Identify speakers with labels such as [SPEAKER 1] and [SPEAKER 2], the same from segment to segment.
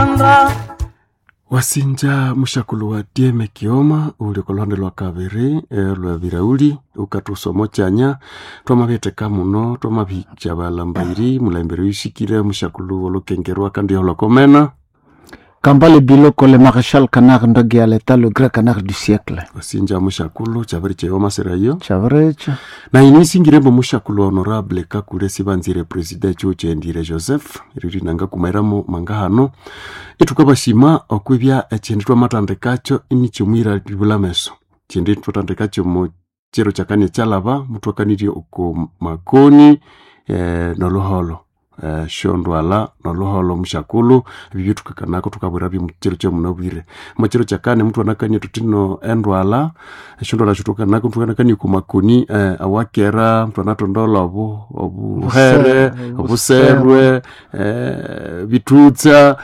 [SPEAKER 1] Uganda.
[SPEAKER 2] Wasinja mushakulu wa Dieme Kioma uli kolwande lwa kabiri lwa birauli ukatusomo chanya twamabitheka muno twamabikya balambairi mulembere wishikire mushakulu wolukengerwa kandi holokomena
[SPEAKER 3] Kambale Biloko, le maréchal canard Ndogi à l'état, le grand canard du siècle.
[SPEAKER 2] Wasinja mushakulu chabiri cheyo maserayo
[SPEAKER 3] Chavrecha.
[SPEAKER 2] Na inisingirembo mushakulu honorable kakule sibanzire president chuchendire Joseph riri nanga kumairamo mangahano itukabashima okwibya echindu twamatandikacho inichomwira libulameso chindu twatandikacho mu chiro chakane chalaba mutwakanirye uko makoni noluholo shondwala noluholo mushakulu ebibyo tukakanako tukabwira byo chiro kyomunobwire muchiro chakane muthu anakania tutino endwala eshondwala shitukanako muthu anakania kumakoni awakera muthu anatondola obu obuhere obuserwe bitutsa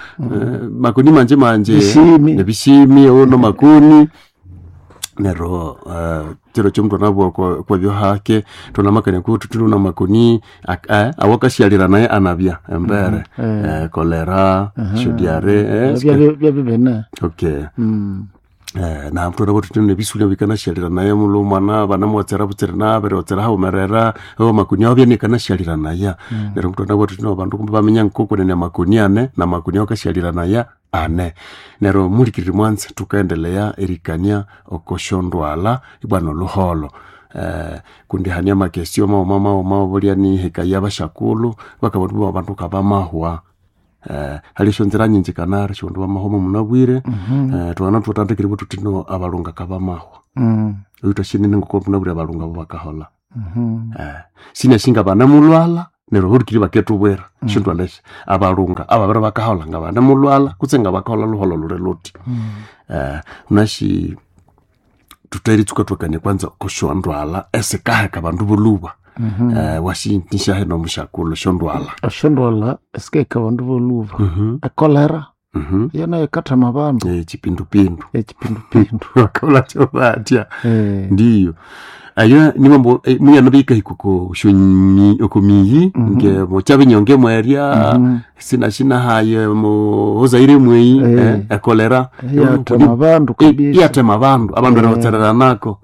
[SPEAKER 2] makoni manje manje
[SPEAKER 3] Bishimi.
[SPEAKER 2] nebishimi ono makoni nero chiro chomuntu anabwa kwabyo hake tonamakania kuti tuluna makoni awakashyalira naye anabya embere kolera shodiare
[SPEAKER 3] Byabibene.
[SPEAKER 2] Okay. Na mntu anabwa tutino nebisulia bikanashyalira naye mulo mwana banamuwatsera butsere nabere watsera haumerera o makoni awo byanekanashyalira naya nero mntu anabwa tutino bandu kumbe bamenya nkokunene makoni ane na makoni awakashyalira naya ane nero mulikiriri mwanze tukaendelea erikania okoshondwala ibwana oluholo kundi hania makesio mauma mauma bulya ni hekaya bashakulu bakabona bandu kabamahwa hali shonzera nyinji kanari shondu bamahoma munabwire twana twatandikire bwe tutino abalunga kabamahwa oyu twashinene ngoko munabwire abalunga bo bakahola sina shinga banamulwala neryo hulikiri baketubwera shondwala esyo abalunga ababere bakahola nga banamulwala kutse nga bakahola luholo luli luthi unashi tutaeritsuka twakania kwanza koshondwala esikaheka bandu boluba washintishahe nomushakulu shondwala
[SPEAKER 3] Eshondwala esikaheka abandu boluba. Ekolera yo nayo ikathama abandu.
[SPEAKER 2] Chipindupindu
[SPEAKER 3] Echipindupindu.
[SPEAKER 2] bakaula chobatya ndiyo ayo nimambo muyano bikahika oko shonyi oko miyi nge mochabinyonge mwerya sina haye mozaire mweyi ekolera
[SPEAKER 3] Yathama abandu kabisa.
[SPEAKER 2] yatema abandu abandu mm nako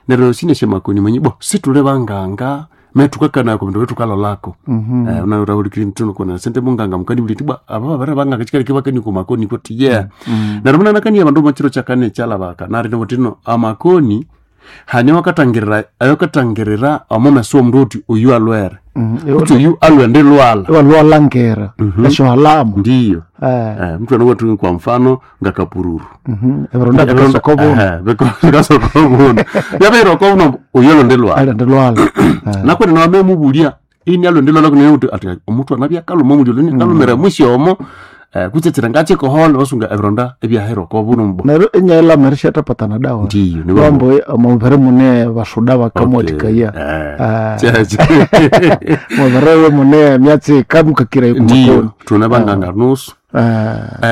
[SPEAKER 2] neryo sineshe makoni mwenye bo situle banganga metukakanako bindu betukalolako unaurahulikiri mtuno kona sente munganga mukani buliti bwa aba babere banganga chikali kibakani ku makoni kuti yeah neryo munanakania bandu machiro chakane chalabaka nari nobutino amakoni hane wakatangirira ayokatangirira omumeso omundu uti uyu alwere kuti uyu alwende lwala
[SPEAKER 3] Iwalwalangera esyohalamu.
[SPEAKER 2] ndiyo mtu anowatu kwa mfano ngakapururu
[SPEAKER 3] Ebironda bikasokobuna.
[SPEAKER 2] bikasokobuna yabeirokobuna uyu alonde lwala
[SPEAKER 3] Alende lwala.
[SPEAKER 2] nakwene nawamemubulia ini alonde lwala kunene kuti ati omutu anabyakaluma omulyo luni kalumira mwisyomo kutsetsera ngachikohola wasunga ebironda ebyahirokobuna mbo
[SPEAKER 3] Neryo inyailhamira isyathapatana dawa.
[SPEAKER 2] ndiyo
[SPEAKER 3] Lwambo omubiri mune basuda bakamuwathikaya. Mubiri mune emyatsi ikamukakira
[SPEAKER 2] ndiyo
[SPEAKER 3] kumakoni.
[SPEAKER 2] tuna banganga nusu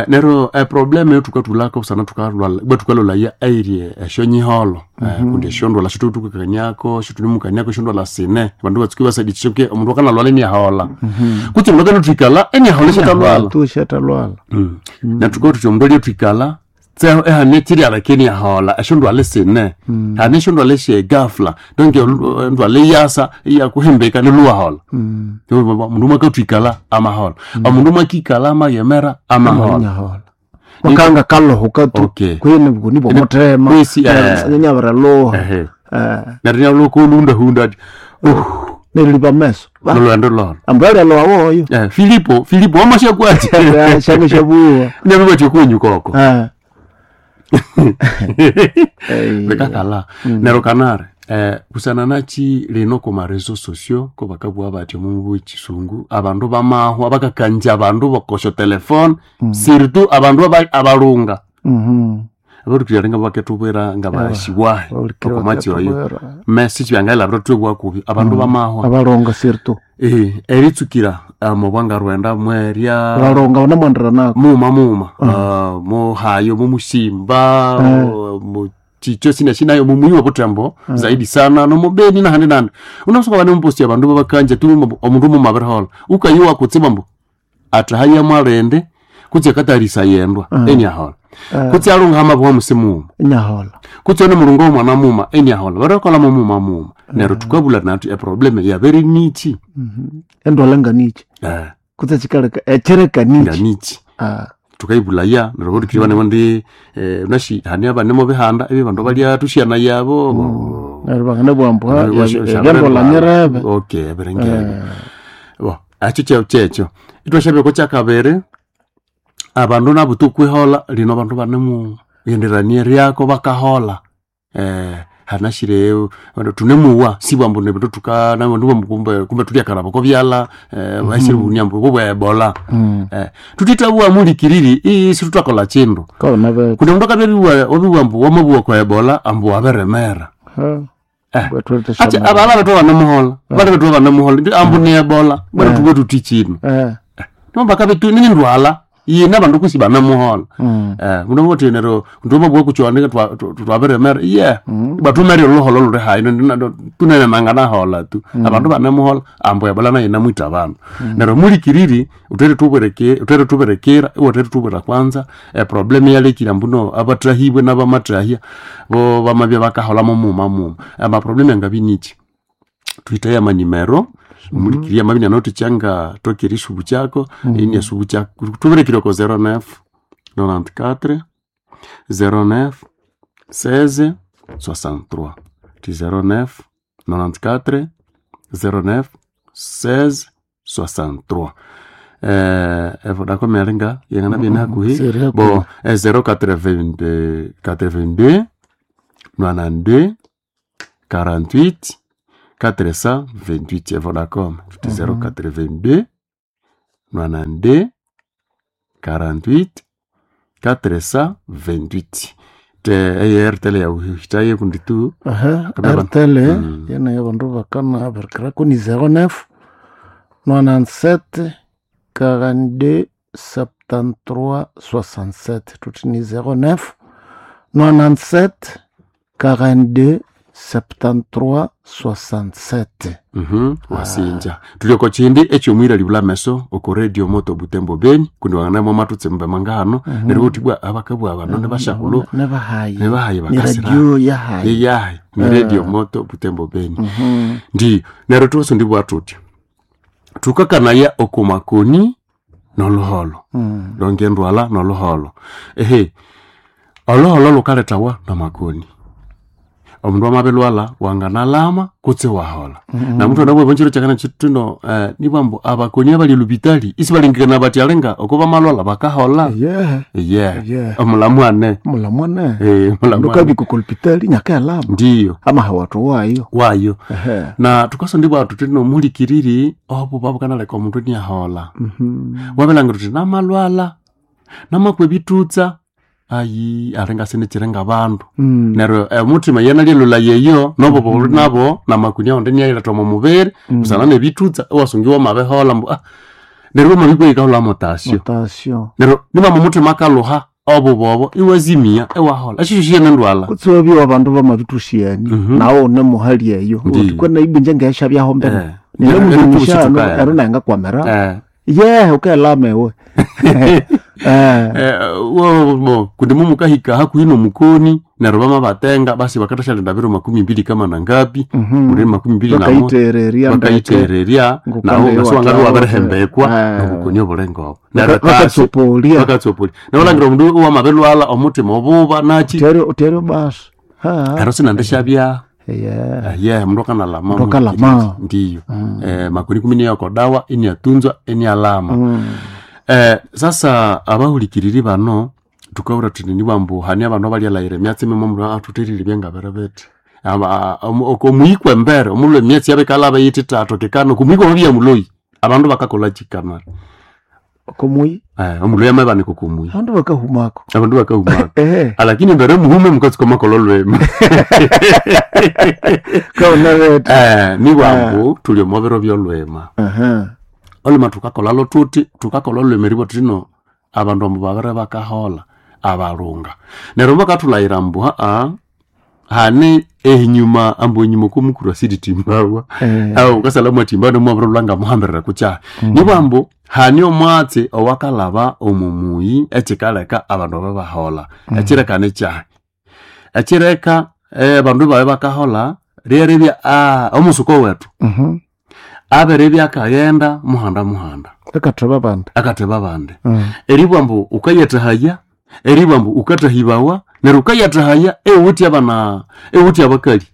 [SPEAKER 2] nero eprobleme yotukatulako sana tukalwala bwe tukalolaya airie eshonyiholo kundi eshondwala shitutukakanyako shitulimukanyako eshondwala sine bandu batsuki basadikishoke omundu akanalwala eniahola kutse mundu akanatwikala eniahola eshatalwala
[SPEAKER 3] Tu isyatalwala.
[SPEAKER 2] natuka tuti omundu alyatwikala tseho ehane chiryalaka eniahola eshondwala esine hane eshondwala eshegafla donke endwala eyasa iyakuhimbika niluwahola mundu mwakatwikala amahola omundu mwakikala amayemera amahola
[SPEAKER 3] Nyahola. Wakanga kalohuka tu.
[SPEAKER 2] Okay.
[SPEAKER 3] Kwene bukuni bwomuthema.
[SPEAKER 2] Kwesi,
[SPEAKER 3] Nyabiraloha.
[SPEAKER 2] Ehe. neryo nyalokoluhundahunda ati
[SPEAKER 3] Neryo meso.
[SPEAKER 2] nolwendo lolo
[SPEAKER 3] Ambu alyaloha woyo.
[SPEAKER 2] Filipo Filipo wamashakwati
[SPEAKER 3] Shange syabuwa.
[SPEAKER 2] nyabibatya kwenyukoko bikakala nero kanare kusana nachi lino ku marezo sociaux ko bakabugha bati omu chisungu abandu bamahwa bakakanja abandu bakosha telefone surtout abandu abalunga abarukirira nga baketubwira nga bashiwahe okomatsi oyo message byangailabira twebwa kubi abandu bamahwa
[SPEAKER 3] Abalonga surtout.
[SPEAKER 2] eritsukira mubwanga rwenda mwerya
[SPEAKER 3] Abalonga banamwandira nako.
[SPEAKER 2] muma muma muhayo mumusimba chicho sina shinayo mumuyiwa butembo zaidi sana nomubeni nahandi nandi unasoka bane muposti abandu babakanja tu omundu mumabirihola ukayiwa kutsiba mbu atahaya mwalende Kutse akatarisa yendwa eniahola. Kutse alunga hamabuha musimuuma.
[SPEAKER 3] Nyahola.
[SPEAKER 2] Kutse one mulungu w'omwana muma eniahola. Barakola mumuma muma. Neryo tukabula nathu eproblem yabere nichi.
[SPEAKER 3] Endwala nganichi. Kutse chikaleka echereka nichi.
[SPEAKER 2] Nganichi. Tukaibulaya neryo botukiri bane bondi nashi hani abane mo bihanda ebi bandu balya tushyana yabo.
[SPEAKER 3] Neryo bangana bwambuha byendwala nyerebe.
[SPEAKER 2] Okay, berengebe. Bo, acho checho. Itwashabye ko kyakabere abandu nabo tukwihola lino abandu banemu yenderanie ryako bakahola. Hanashire tunemuwa sibwambu nebindu tuka nabandu kumbe kumbe tulyakaraba ko byala bashire bunyambu bwo Ebola. Tutitabuwa mulikiriri isi tutakola chindu. Kundi mundu akabebiwa obiwambu wamabuwa kwa Ebola ambu waberemera. Acha abala betu banamuhola. Bale betu banamuhola ambu ni Ebola. Bale tuwe tutichino. Nomba kabetu nini ndwala yina bandu kusi banamuhola. Muno wote nero ndoma bwo kuchwanika twaberemera. Yeah. Batumere oloholo lure hayi tunene nangana hola tu. Abandu banamuhola ambu Ebola nayo namwita abandu. Nero mulikiriri utere tubereke utere tuberekera utere tubera kwanza problem yalekira mbuno abatrahibwe n'abamatrahia bo bamabya bakahola mumuma muma. Ama problem yangabinichi. Tuitaya manimero mulikiria mabina noti changa tokirishu buchako ini asubu chako tuberekire ko 09 94 09 16 63 ti 09 94 09 16 63 evodacom yalinga yengana bina hakuhi bo 082 82 92 48 428 Vodacom. Tuti 082 92 48 428. Te ARTL ya uhitaye kundi tu.
[SPEAKER 3] RTL yana ya bandu bakana berkera kuni 09 97 42 73 67. Tuti ni 09 97 42 73 67.
[SPEAKER 2] Wasinja tulioko chindi ekyomwira libula meso oko radio moto Butembo Beni kundi wanganamo matutse mbe mangano neryo utibwa abakabwa abano ne bashakulu
[SPEAKER 3] ne bahayi
[SPEAKER 2] bakasira
[SPEAKER 3] radio yahayi
[SPEAKER 2] yahayi ni radio moto Butembo Beni ndi neryo tuso ndibwa tuti tukakanaya okumakoni noluholo longe ndwala noluholo ehe oluholo lukaletawa namakoni omundu amabelwala wanganalama kutse wahola. Na mndu anabwe bonjiro chakana chituno nibambo abakoni abali lubitali isi balingikana bati alenga okoba malwala bakahola.
[SPEAKER 3] Yeah.
[SPEAKER 2] Omulamu ane.
[SPEAKER 3] Mulamu ane.
[SPEAKER 2] Mulamu.
[SPEAKER 3] Ndukabi kukolpitali nyakalama.
[SPEAKER 2] Ndiyo.
[SPEAKER 3] Ama hawatu wayo.
[SPEAKER 2] Wayo. Na tukosa ndibwa tutino mulikiriri obo babukanaleka omundu niahola. Wabelanga tuti namalwala namakwe bitutsa ayi arenga sinichirenga bandu. Neryo omutima yena lyelula yeyo nobo buli nabo namakunia onde niyayiletha omu mubiri busana nebitutsa iwasungiwa mabihola mbu neryo wamabikwa yikahola mutasyo. Neryo nibama omutima akaluha obubobo iwazimia iwahola esyo syene ndwala.
[SPEAKER 3] Kutse wabyo abandu bamabithusyani nawo une muhali eyo uthi na ibinje ngeshabyaho mbere. Nero mulimushano ero nangakwamera. Ye ukelama ewe.
[SPEAKER 2] Kundi mumukahika hakuhi nomukoni neryo bamabatenga basi bakathasyalinda biro 20 kama nangapi muri 21 bakayithererya nawo ngasiwangabya wabirihembekwa nobukoni obulenga obo neryo
[SPEAKER 3] bakatsopolia
[SPEAKER 2] neryo omundu iwamabirlwala omutima obuba nachi
[SPEAKER 3] teryo basi
[SPEAKER 2] ero sinandishabya. Mundu akanalama ndiyo makoni kumi niyoko dawa iniatunzwa inialama. Sasa abahulikiriri bano tukabura tuti nibambu hani abandu abalyalayira emyatsi mimo mundu athuthirire byangabere bithi omuhikwa embere omulhu emyatsi yabikalaba yithi tatu kikano kumuhikwa mabya muloyi abandu bakakolha kikamara
[SPEAKER 3] kumuyi
[SPEAKER 2] omuloyi amabanika kumuyi
[SPEAKER 3] abandu bakahumako
[SPEAKER 2] abandu bakahumako lakini embere muhume mukatsuka makolha olwema nibambu tuli omo biro byolwema olwema thukakolha tuti thukakolha olwema eribwa thuthi abandu ambu babere bakahola abalunga neryo bakathulhayira mbu hane ehinyuma ambu enyuma okwomukuru asiritimbawa awo ukasalha mwatimbawa nomwabirolwa ngamuhambirira kukyahi nibwa ambu Hani omwatsi owakalaba omumuyi ekikaleka abandu aba bahola. Ekireka nikyahi? Ekireka abandu babe bakahola ryeribya omusuko wetu abiribya akaghenda muhanda muhanda
[SPEAKER 3] Akatheba abandi.
[SPEAKER 2] Akatheba abandi. Eribwa ambu wukayathahaya, eribwa ambu wukathahibawa, neryo wukayathahaya iwuwithe abana, iwuwithe abakali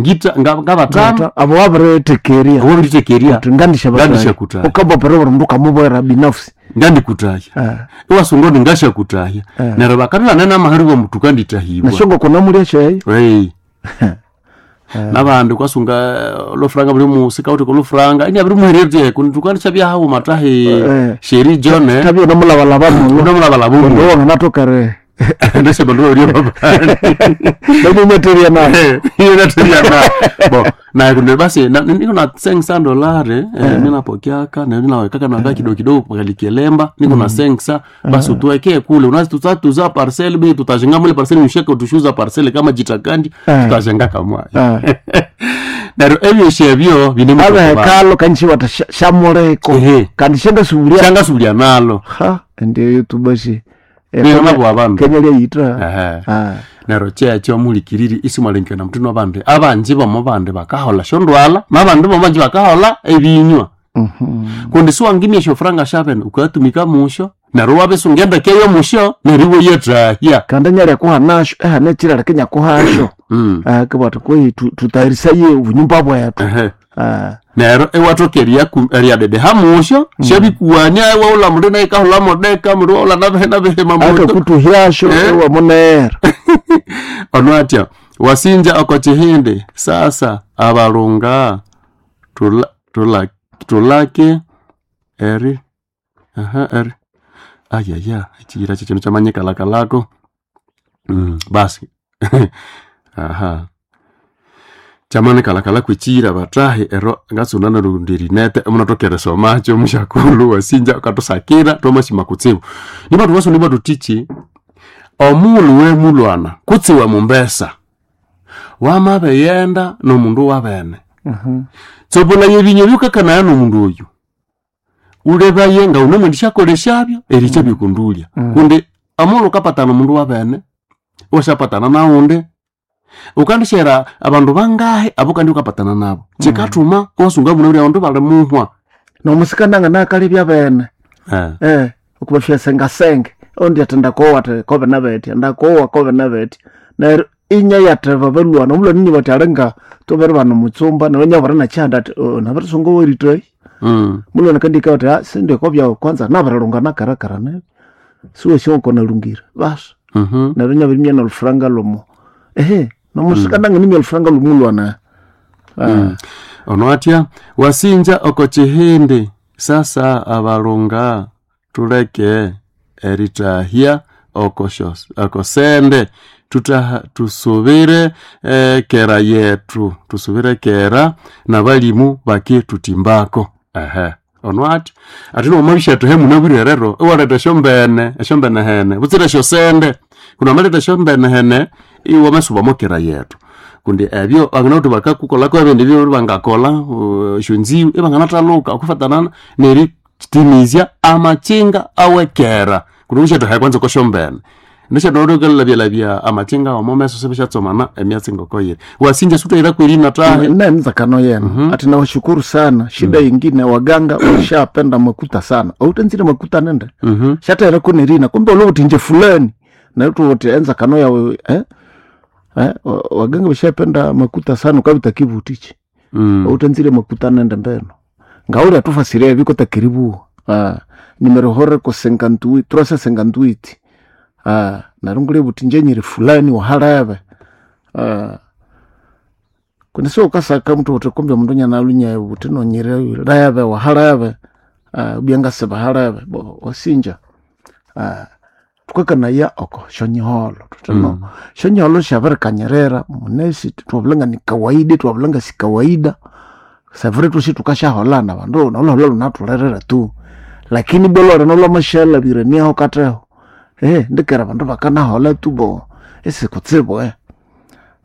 [SPEAKER 2] ngitha ngabathanu.
[SPEAKER 3] Abo wabirithekerya.
[SPEAKER 2] Wabirithekerya.
[SPEAKER 3] Uthi ngandisyabathahya.
[SPEAKER 2] Ngandisyakuthahya.
[SPEAKER 3] Wukabapira buli mundu wukamubwira binafsi.
[SPEAKER 2] Ngandikuthahya. Iwasunga undi ngasyakuthahya. Neryo bakabya ibanene amahera ambu thukandithahibwa.
[SPEAKER 3] Nasyo ngokunamulya syayo.
[SPEAKER 2] Nabandi wukasunga olufuranga buli musika wuthi kolufuranga inabirimuhererya uthi kundi thukandisya haghuma thahi Sheri John
[SPEAKER 3] Thabya namulabalaba mulo.
[SPEAKER 2] Namulabalaba
[SPEAKER 3] Kundi
[SPEAKER 2] mulo.
[SPEAKER 3] wanganathoka
[SPEAKER 2] Ndasyabandu babiri ababandi.
[SPEAKER 3] Namunyatheria nayo.
[SPEAKER 2] Inyatheria nayo. Bo, naye kundi basi niko na $500 mimi napokeaka na ninawekaka na kidogo kidogo kwa likelemba niko na 500 basi utuwekee kule unazi tutatuza parcel bi tutajenga mule parcel msheke utushuza parcel kama jitakandi tutajenga kamwa. Neryo ebyosi ebyo bine mu
[SPEAKER 3] Abe hekalo kanshi wata shamuleko. Kandi shangasubulya.
[SPEAKER 2] Shangasubulya nalo.
[SPEAKER 3] Ha, ndiyo tubasi.
[SPEAKER 2] Nero nabo abandu.
[SPEAKER 3] Kenya lyayitha.
[SPEAKER 2] Neryo kyekyo mulikiriri isimwalengekania muthina abandi. Abanji bomo bandi bakaholha esyondwalha, nabandi bomo banji bakaholha ebinywa. Kundi siwangimya esyofuranga syabene wukayatumika musyo, neryo iwabisunga endeke yomusyo neryo iwayathahya.
[SPEAKER 3] Kandi nyalya kuhanasyo, ehane ekyiraleka inyakuhasyo. Kibwa athi kwehi tutayirisaye obunyumba bwethu.
[SPEAKER 2] Neryo iwathoka eriyadedeha musyo, syabikuwania iwaghulha mundu nayo ikahulha modeka, mundu iwaghulha nabihi nabihi mamoto.
[SPEAKER 3] Akakutuhyasyo iwamunera.
[SPEAKER 2] Ono atya wasinja oko kihindi sasa abalunga tulake eri aha eri ayaya ekiyira kyekyindu kyamanyikalakalako basi aha kyamanikalakalaku ekiyira bathahi ero ngatsuna narundi erinete emunathoka erisomakyo musyakulhu wasinja wukathusakira thwamasima kutsibu. Nibwa thukasunga ibwa thuthiki omughulhu wemulwana kutse wemumbesa wamabighenda nomundu wabene tsopolaya ebinywa ebyukakanaya nomundu oyu wulebaye ngawunemwendisyakolesyabyo erikyabya okundulya. Kundi omughulhu wukapatana omundu wabene iwasyapatana nawundi wukandisyera abandu bangahi abawukandi wukapatana nabu. Kyikathuma iwasunga munabwire abandu bali muhwa.
[SPEAKER 3] Nomusika nanganakalebya bene. Okubafya sengasenge. Ondi athi ndakowa athi kobe nabetya, ndakowa kobe nabetya. Neryo inyayatheba balwana, omulwana inyo bathi alinga thubere bana omutsumba neryo inyabwira nakyihanda athi nabirisunga owerithayi. Mulwana kandi ikabya athi sindi okobyawu kwanza nabirilunga nakarakara nibyo. Siwasi ngoko nalungire basi. Neryo inyabirimya nolufuranga lwomo. Nomusika nanganimya olufuranga lwomulwana.
[SPEAKER 2] Ono atya wasinja oko kihindi sasa abalunga tuleke erithahya oko sende tusubire kera yetu tusubire kera nabalimu bakithuthimbako. Ono atya athi nomwabishathahe munabwire rero iwaletha esyombene esyombene hene butsira esyosende kundi wamaletha esyombene hene iwamasuba mokera yetu. Kundi ebyo banganawithe bakakukolako ebindi byo bangakolha esyonziwu ibanganathaluka okwifatana neritimizya amakinga awekera. Kundi wukasyathahaya kwanza okosyombene nesyathawulyalyabya amakinga omo meso sibisyatsomana emyatsi ngokoyiri. Wasinja siwuthaghira kwerina thahi.
[SPEAKER 3] Nenzakano yenu ati nawashukuru sana. Shida yingine waganga washapenda makuta sana. Outanzire makuta nende. Shatahira kunerina kumbe ulo uti nje fulani. Neryo thuthi enzakano yawe waganga bashapenda makuta sana ukabita kibutichi. Outanzire makuta nende mbeno. Ngauri atufasiria ebiko takiribu. Nimero hore ko 58, 358. Neryo ngule buti nje nyiri fulani wahalebe. Kundi sio ukasaka mtu uti kumbe mundu nyanalunya buti nonyire lebe wahalebe. Ubyangasiba halebe bo wasinja. Tukakanaya oko shonyiholo tutano. Shonyiholo shabirikanyirira munesi twabulanga ni kawaida twabulanga si kawaida. Savure tusi tukashaholana bandu noloholo lunathulerera tu. Lakini bolore nolomashalabire niaho kateho. Ndikera bandu bakanahola tu bo esikutsibu.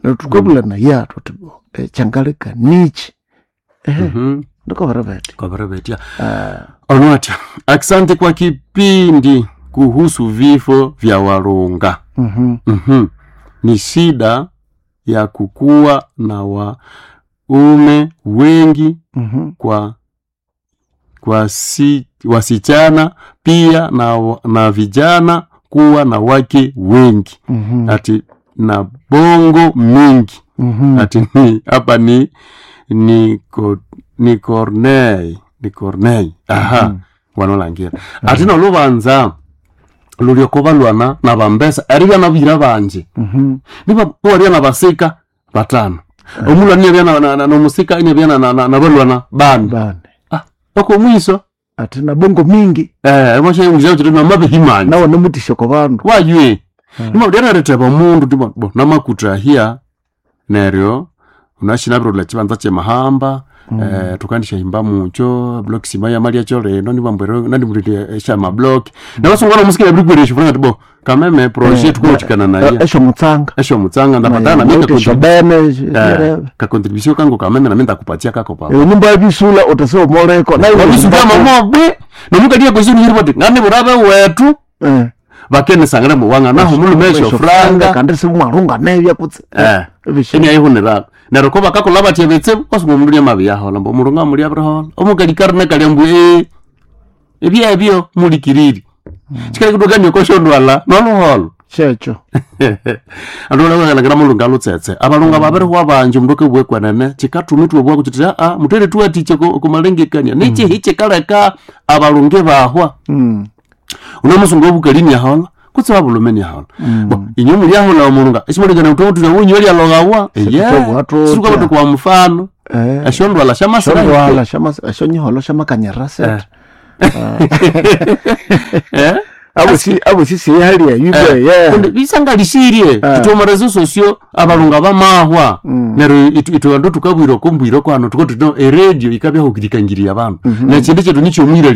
[SPEAKER 3] Neryo tukabulana ya thuthi bo kyangaleka nichi. Ndikobere bethi.
[SPEAKER 2] Kobere betya. Onwatya, asante kwa kipindi kuhusu vifo vya Walunga. Ni shida ya kukuwa na waume wengi kwa wasichana pia na vijana kuwa na wake wengi. Ati na bongo mingi. Ati ni hapa ni Corneille, ni Corneille. Aha. Wanolangira. Ati nolubanza lulyoko balwana na bambesa eribya nabira banje. Niba waria na basika batano. Omulwa niye bya na nomusika ine bya na balwana bana.
[SPEAKER 3] Bane.
[SPEAKER 2] Ah, oko mwiso.
[SPEAKER 3] Ati na bongo mingi.
[SPEAKER 2] Moshe ngizao chiri na mabihimani.
[SPEAKER 3] Nawo nomutisho ko bandu.
[SPEAKER 2] Waywe. Nima udyanareteba omundu tibo bo namakutahia neryo unashinabirula chibanza chemahamba tukandisha himba mucho block sima ya malia chole no nibambwero nandimulile esha mablock nabasunga nomusikira biri kwere tibo kameme projet tukochikana naye
[SPEAKER 3] Esho mutsanga.
[SPEAKER 2] esho mutsanga ndapatana
[SPEAKER 3] Na
[SPEAKER 2] mimi
[SPEAKER 3] esho bene.
[SPEAKER 2] ka contribution kangu kameme na mimi ndakupatia kako papa
[SPEAKER 3] Nyumba yabisula utase omoleko. Nayo
[SPEAKER 2] wabisuka mamobe nomukadia kwesini hiriboti ngani burabe wetu bakenesangana muwanga naho mulume esho franga
[SPEAKER 3] kandi simwarunga nebya kutse.
[SPEAKER 2] Eni ayihunira neryo ko bakakola batya bitsibu kwasunga omundu niamabiyahola mbu omulungu amuli abirihola omukalikaru nekalya mbu ebyebyo mulikiriri chikalekutokania koshondwala noluholo
[SPEAKER 3] Checho.
[SPEAKER 2] andu olakalakira mulungu alutsetse abalungu babirihwa banji omundu akabugha kwenene chikatuma ithwabugha kutsi aa muthere thuwathikye kumalengekania nechihi chikaleka abalungu ibahwa unamusungu obukali niahola kutse wabulume niahola bo inywe mulyahola omulunga esimulengana uthuthira unywe lyalogawa
[SPEAKER 3] Sithukwabugha thutya.
[SPEAKER 2] sithukwabugha kwa mfano eshondwala syamasira
[SPEAKER 3] Shondwala shama shonyiholo shamakanyira set. Abo si sihali ya yube ye.
[SPEAKER 2] Kundi bisangalisirie ithomara sosio abalunga bamahwa neryo ithwe bandu thukabwira okumbwira kwano thuka thuti no eradio ikabya hukirikangiria abandu nekindu kyethu nikyomwira.